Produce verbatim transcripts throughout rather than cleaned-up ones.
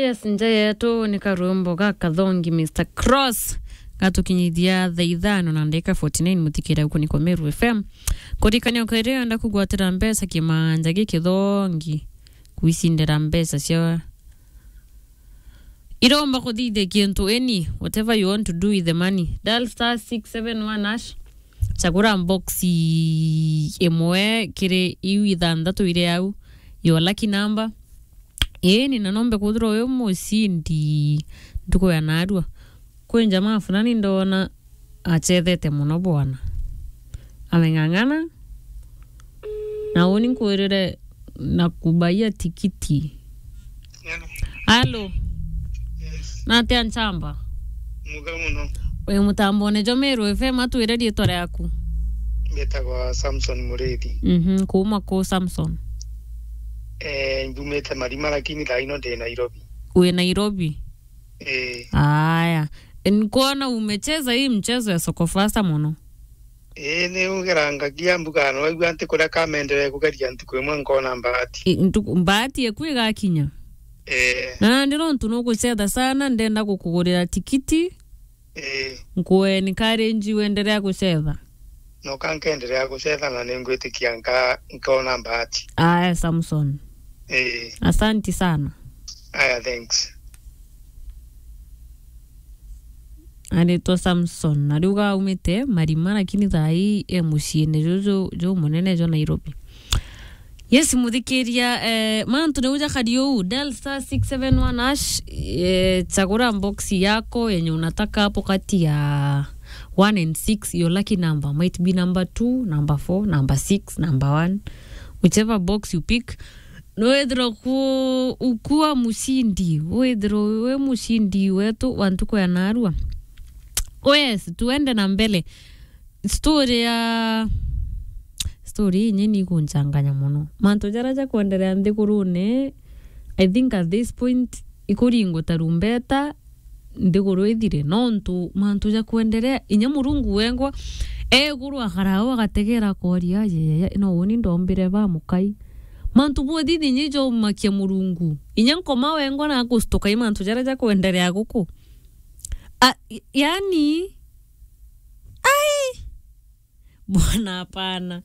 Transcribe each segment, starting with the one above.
Yes, nja yetu ni karwimbo ga Kathongi, Mister Cross, gatukinyithia thaa ithano na ndagika forty-nine, muthikira uku ni kwa Meru F M. Kurikania ukairi wenda kugwatira mbeca kimanja gi Kithongi, kwicindira mbeca cia iromba kuthithia kintu any, whatever you want to do with the money. Dial star six seven one hash, chagura box imwe kiri iu ithanthatu iri au, your lucky number. Ii, ni na nombe kwithirwa wi mucindi ntuku ya narua. Kwi njamaa fulani ndona achethete mono bwana. Ameng'ang'ana. Na uni nkwirire na kubaia tikiti. Hello. Hello. Yes. Natia nchamba? Muga muno. Wi mutambone jo Meru F M, atwire riitwa riaku. Mbitagwa Samson Murithi. Mhm, kuuma ku Samson? Eh, mbumite Marima lakini thaa ino ndi Nairobi. Wi Nairobi? Eh. Aya. Nkuona umecheza hii mchezo ya soko fasta mono. Ii, ni ugerangagia mbuga, no waigua nti kuria kamenderee kugeria ntuku imwe nkona mbaati. I, ntuku, mbaati eku igakinya. Ee. Na nandi nontu nugucetha sana, ndenda gukugurira tikiti. Ee. Nku encourage uendelea gucetha. Noka nkenderea gucetha na ningwitikia nka-, nkona mbaati. Aya, Samson. Ee. Asanti sana. Aya, thanks. Aritwa Samson, na riu gaumite Marima, lakini thaa ii e muciine juju jumunene jwa Nairobi. Yes, muthikiria, eh, mantu niu jakari uu, dial star six seven one hash, eh, chagura box yako yenye unataka hapo kati ya one and six, your lucky number might be number two, number four, number six, number one, whichever box you pick. Nwethirwa ku-, ukua mucindi, withirwa wi mucindi wetu wa ntuku ya narua. Oh yes, tuende na mbele. Story ya, story inye ni ikunchanganya mono. Mantu jaria jakwenderea nthigurune, I think at this point, ikuringwa tarumbeta, nthiguru ithire, nontu mantu ja kwenderea, inya Murungu wengwa e iguru akara au agategera akoria, "Ayeyeye, no uni ndombire ba mukai?" Mantu bwothe inya jaumakia Murungu. Inya Nkoma wengwa na akustuka i mantu jaria ja kwenderea guku. A, y-, yani, ai, bwana, hapana.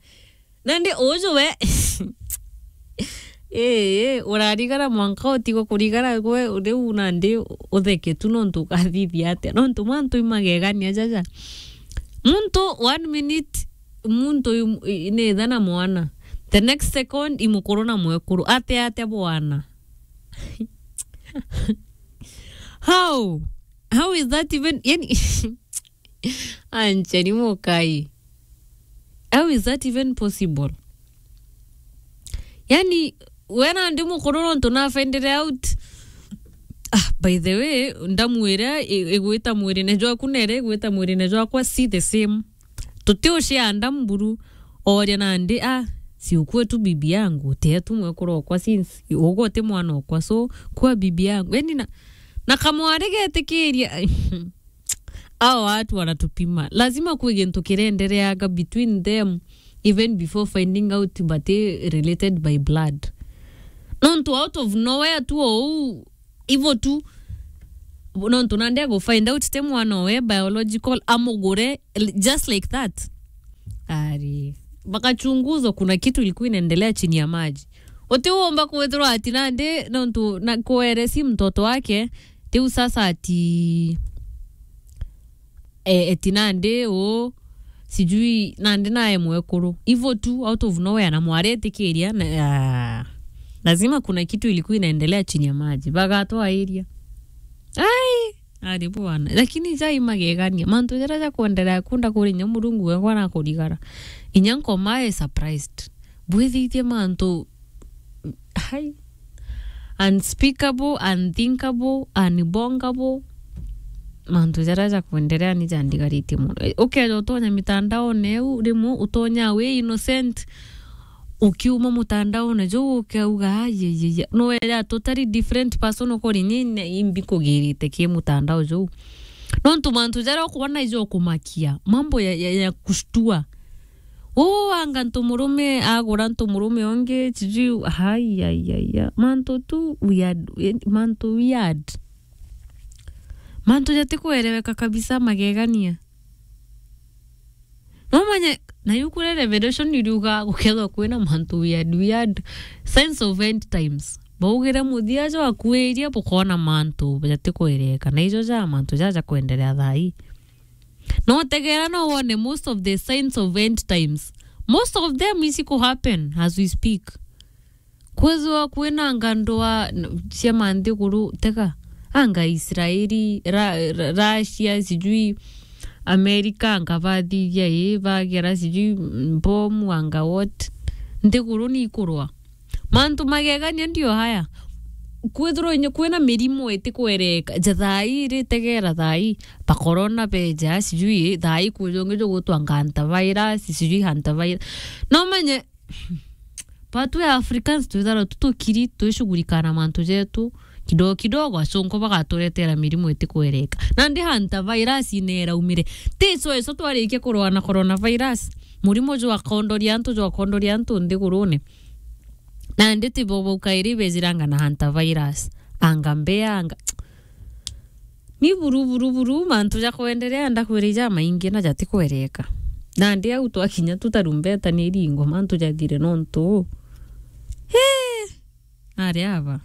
Nandi uju we, ii, urarigara mwanka utigwe kurigara gwe riu nandi utheke tu nontu ukathithia atia? Nontu mantu imagegania jaja. Muntu one minute, muntu im-, i-, ni ithe na mwana. The next second, i mukuru na mwekuru. Atia, atia bwana? How? How is that even, yani, ancheni mukai. How is that even possible? Yani, we nandi mukuru nontu na find it out. Ah, by the way, ndamu iria i-, igwita mwirine jwaku na iria igwita mwirine jwakwa si the same. Tutiushare ndamu buru. Oria nandi, "Ah, si ukuwe tu bibi yangu, utie tu mwekuru okwa since, ugwe uti mwana okwa, so kuwa bibi yangu." Yani na, na kamwari getikiria. Hao watu wanatupima. Lazima kwi gintu kirendereaga between them even before finding out bati related by blood. Nontu out of nowhere tu ou, ivo tu, nontu nandi agu find out ti mwana owe biological, amugure l-, just like that. Ari, wakachunguzwa, kuna kitu ilikuwa inaendelea chini ya maji. Uti uomba kwithirwa ati nandi, nontu na kuere si mtoto wake, tiu sasa ati, e, eti nandi u, sijui nandi nae mwekuru. Ivo tu, out of nowhere, na mwari etikiria, na, ah, lazima kuna kitu ilikuwa inaendelea chini ya maji. Bagatwairia. Ai, ari bwana. Lakini jai magegania. Mantu jaria jakwenderea kunda kuri inya Murungu wengwa na kurigara. Inya Nkoma e surprised. Bwithithie mantu, hai, unspeakable, unthinkable, unbongable. Mantu jaria jakwenderea ni jandigaritie mono. E, ukeja utonya mitandaone eu, rimwe utonya wi innocent, ukiuma mutandaone juu ukauga, "Ai, ai, ai, ai." No era totally different person ukori ni, ni imbi kugirite ki mutandao juu. Nontu mantu jaria ukwona ijo kumakia, mambo ya, ya, ya kushtua. Uu anga ntu murume agura ntu murume ungi, sijui, ai, ai, ai, ai. Mantu tu weird, eh, mantu weird. Mantu jatikuereweka kabisa, magegania. Nomanye, na yuku ria Revelation iriuga gukethwa kwina mantu weird, weird, signs of end times. Baugire muthia jwakuirie bukona mantu jatikuereweka. Na ijo ja mantu jaja kwenderea thaa ii. No tegera no wone most of the signs of end times. Most of them is to happen as we speak. Kwithirwa kwina anga ndwaa n-, cia manthiguru, tega, anga Israeli, Ra-, Ra-, Russia, sijui America, anga bathithia ii, bagera sijui mbomu, anga what. Nthiguru ni ikurwa. Mantu magegania ndio haya. Kwithirwa inye kwina mirimu itikwereka, ja thaa ii ri, tegera thaa ii, ba corona beja, sijui thaa ii kwi jungi jugutwa anga hantavirus, sijui hantavirus. No manye, Batwi Africans twithagirwa tu tukiri, twishughulika na mantu jetu kidogo kidogo, acunku bagaturetera mirimu itikwereka. Nandi hantavirus ineraumire. Ti ico ico twarikia kurwaa na coronavirus. Murimu jwakondoria antu, jwakondoria antu nthigurune. Nandi ti bo baukairi bejiranga na hantavirus. Anga mbea, anga. Ni buru, buru, buru, mantu ja kwenderea, ndakwira ijamaingi na jatikwereka. Nandi au twakinya tu tarumbeta ni iringo, mantu jathire nontu. Hii! Ari aba.